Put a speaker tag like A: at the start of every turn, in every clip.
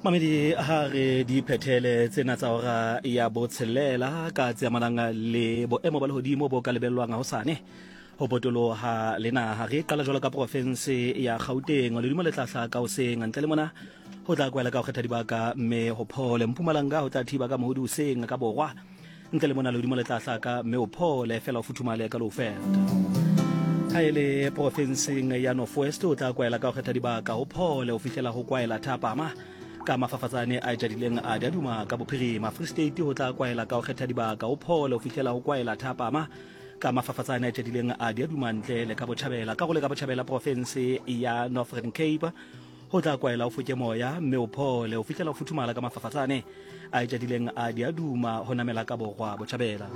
A: Mamedi ha re di phethele tsena tsa hora ya botshelela ka tse amanang le boemo ba lehodimo bo ka lebellwang hosane ho potoloha le naha. Re qala jwalo ka porofense ya Gauteng, lehodimo le tla hlaka hoseng, ntle le mona ho tla kwela ka ho kgetha dibaka mme ho phole. Mpumalanga ho tla thiba ka mohodi hoseng ka borwa, Ntle le mona lehodimo le tla hlaka mme o phole fela o futhumale ka Lowveld. Ha e le porofenseng ya North West o tla kwaela ka go kgetha dibaka o phole o fihlela go kwaela thapama ka mafafatsane a jadileng a diaduma ka bophirima. Free State ho tla kwaela ka go kgetha dibaka o phole o fihlela go kwaela thapama ka mafafatsane a jadileng a diaduma ntle le ka botjhabela. Ka go le ka botjhabela porofense ya Northern Cape Go tla kwaela o foke moya mme o phole o fihlela o futhumala ka mafafatsane a etšadileng a diaduma go namela ka borwa botšhabela.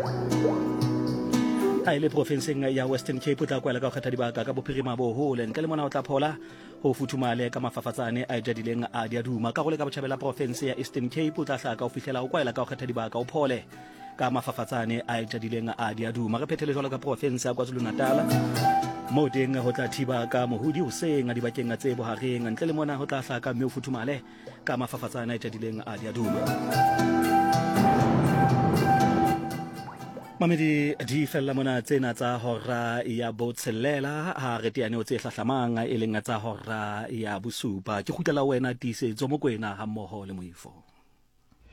A: A e le profenseng ya Western Cape o tla kwaela ka go kgetha dibaka ka bophirima bo hole ntle le mona o tla phola go futhumale ka mafafatsane a etšadileng a diaduma. Ka go le ka botšhabela profense ya Eastern Cape o tla hlaka o fihlela o kwaela ka go kgetha dibaka o phole ka mafafatsane a etšadileng a diaduma. Re phethele jwalo ka profense ya KwaZulu-Natal moo teng ho tla thiba ka mohodi hoseng a dibakeng tse bohareng, ntle le mona ho tla hlaka mme o futhumale ka mafafatsane a etšadileng a diaduma. Mamedi di fella mona tsena tsa hora ya botshelela ha re teane tse hlahlamang e leng tsa hora ya bosupa. Ke kgutlela wena Tiisetso Mokwena hammoho le Moifo.